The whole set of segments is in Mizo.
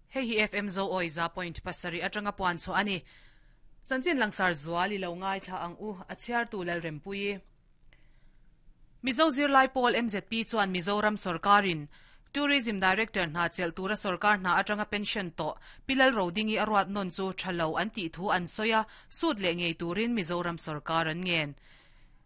Hei hi FM Zoawi 100.7 atanga puan chhuah a ni. Chanchin langsar zual i lo ngaithla ang u, a chhiartu Lalrempuii. Mizo zirlai pawl MZP chuan Mizoram sorkarin Tourism Director hna chelh tura sorkar hna atanga pension tawh Pi Lalrodingi a ruat nawn chu tha lo an tih thu an sawi a, sut leh ngei turin Mizoram sorkar an ngen.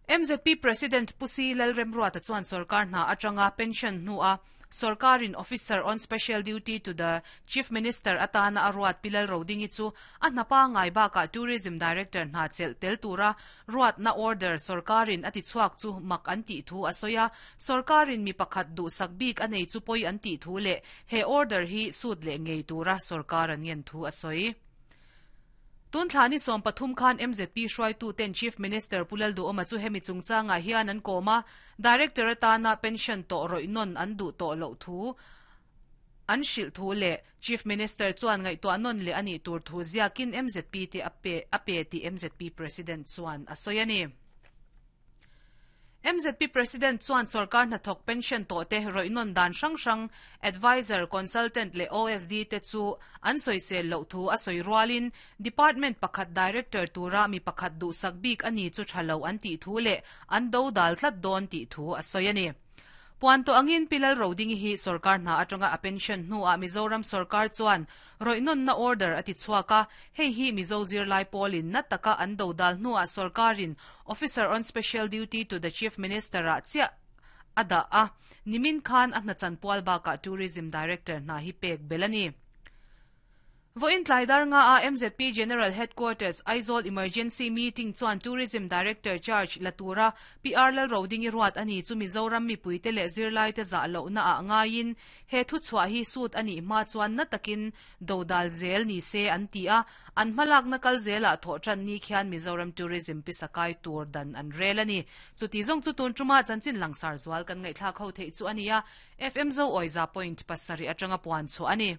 MZP President Pu Si Lalremruata chuan sorkar hna atanga pension hnua sorkarin Officer on Special Duty to the Chief Minister atana a ruat Pi Lalrodingi chu a hna pangngai bakah Tourism Director hna chelh tel tura ruatna order sorkarin a tichhuak chu mak an tih thu a sawi a, sorkarin mi pakhat duhsak bik a nei chu pawi an tih thu leh he order hi sut leh ngei tura sorkar an ngen thu a sawi. Tun thla ni 13 khan MZP hruaituten Chief Minister Pu Lalduhawma chu hemi chungchangah hian an kawm a, Director atana pension tawh rawih nawn an duh tawh loh thu an hrilh thu leh Chief Minister chuan ngaihtuah nawn leh a nih tur thu ziakin MZP te a pe a pe tih MZP President chuan a sawi a ni. MZP President chuan sorkar hnathawk pension tawhte rawih nawn dan hrang hrang Adviser, Consultant leh OSD te chu an sawisel loh thu a sawi rualin Department pakhat Director tura mi pakhat duhsak bik a ni chu tha lo an tih thu leh an do dal tlat dawn tih thu a sawi a ni. Puan tawh angin Pi Lalrodingi hi sorkar hna atanga a pension hnuah Mizoram sorkar chuan rawihnawnna order a ti chhuak a, hei hi Mizo zirlai pawlin na taka an do dal hnuah sorkarin Officer on Special Duty to the Chief Minister-ah chiah a dah a, nimin khan a hna chanpual bakah Tourism Director hna hi pek belh a ni. Vawiin tlai dar nga a MZP General Headquarters, Aizawl Emergency Meeting chuan Tourism Director charge la tura PR Lalrodingi ruat a ni chu Mizoram mipuite leh zirlaite zah lohna ah ngaiin he thuchhuah hi sut a nih hma chuan na takin dodal zel ni se an ti a, an hmalakna kal zelah thawh tan ni khian Mizoram Tourism pisa kai tur dan an rel a ni. Chuti zawng chu tun tuma chanchin langsar zual kan ngaihthlak ho theih chu a ni a, FM Zoawi 100.7 atanga puan chhuah a ni.